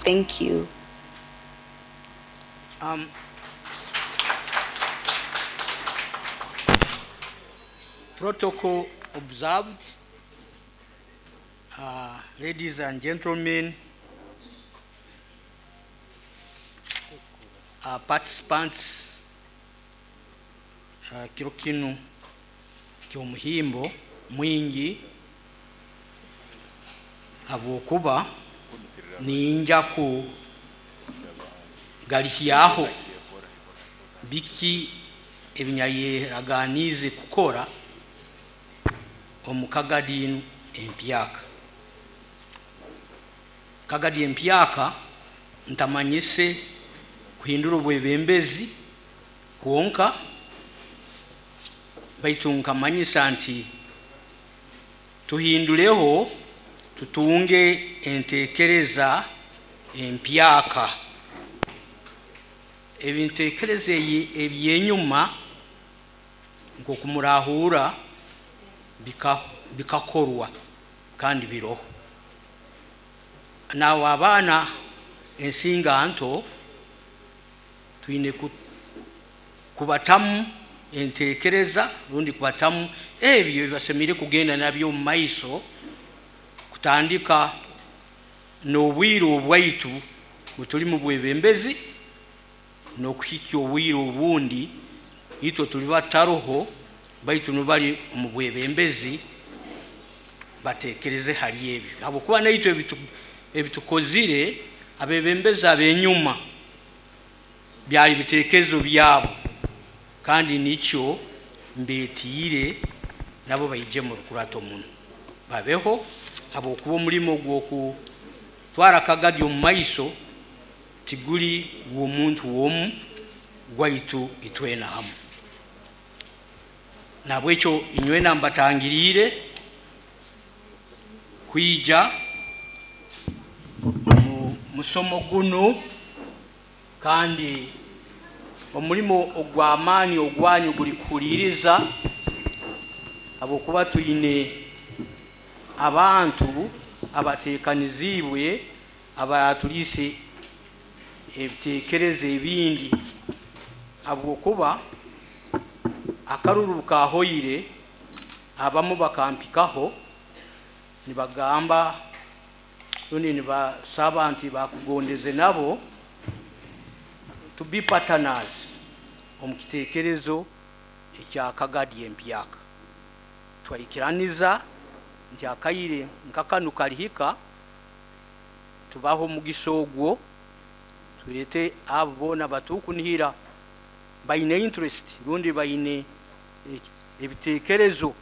Thank you. Protocol observed. Ladies and gentlemen, participants, kiro kinu ky'omuhimbo mwingi habwokuba ninja kugalihyaho biki ebinyayeraganiize kukora omu Kagadi enu empyaka. Kagadi empyaka ntamanyise kuhindura obwebembezi kwonka, baitu nkamanyisa nti tuhinduleho, tutunge entekereza empyaka. Ebintekereza ebyenyuma nk'okumurahura bikakorwa kandi biroho. Nawe abaana ensinga nto twine kubatamu entekereza rundi kubatamu ebyo ebibasemeriire kugenda nabyo omu maiso, kutandika n'obwire obwaitu butuli mu bwebembezi n'okuhikya obwire obundi itwe tuli bataroho, baitu nibali omu bwebembezi batekereze hali ebyo, habwokuba naitwe ebitukozire abebembezi abenyuma byali bitekerezo byabo, kandi nikyo mbetiire nabo baije mu rukurato muno babeho, habwokuba omulimo gw'okutwara Kagadi omu maiso tiguli gw'omuntu omu, gwaitu itwena hamu. Nabwekyo inywena mbatangiriire kwija omu musomo gunu, kandi omulimo ogw'amaani ogwanyu guli kuhuliiriza, habwokuba twine abantu abateekaniziibwe abaratuliise ebiteekerezo ebindi, habwokuba akaruru kahoire abamu bakampikaho nibagamba rundi nibasaba nti bakugondeze nabo to be partners omu kiteekerezo ekya Kagadi empyaka. Twaikiraniza nti akaire nkakanu kalihika tubaho omugisa ogwo, twete abo boona batukunihira baine interest rundi baine ebiteekerezo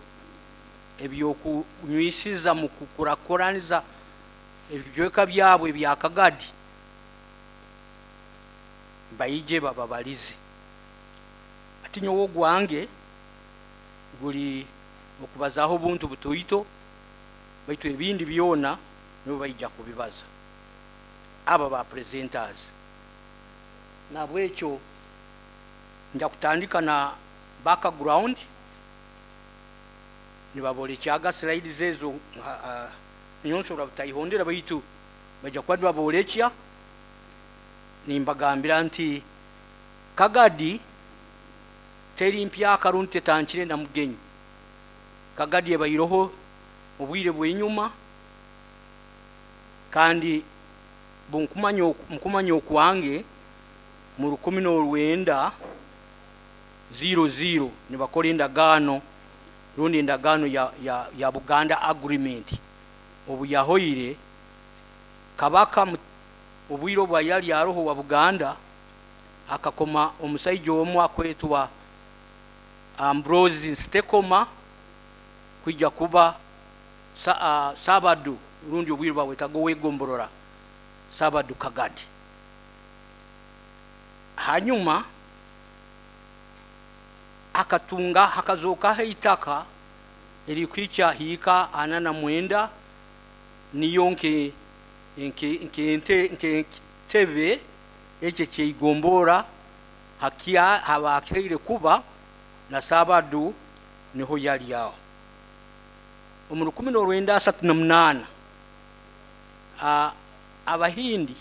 ebyokunywisiza mu kukurakuraniza ebijweka byabwe ebya Kagadi, baije bababalize. Ati nyowe ogwange guli okubazaho obuntu butoito, baitu ebindi byona nibo baija kubibaza aba ba presenters. Nabwekyo nja kutandika na background, nibabolekyaga slides ezo, nyowe nsobora butayihondera, baitu baija kuba nibabolekya. Nimbagambira nti Kagadi teri mpyaka rundi tetankire na mugenyi. Kagadi ebairoho obwire bw'enyuma, kandi nkumanya okwange mu 1900 nibakora endagaano rundi endagaano ya Buganda Agreement. Obu yahoire Kabaka obwire obwa yali aroho wa Buganda akakoma omusaija omu akwetwa Ambrose Nsitekoma kwija kuba Sabadu rundi obwire bawetaga owegomborora Sabadu Kagadi. Hanyuma akatunga hakazokaho eitaka erikwica hiika 49, niyo nk'entebe ekyo kyeigombora hakia habakireire kuba na Sabadu niho yali aho. Omu 1938 Abahindi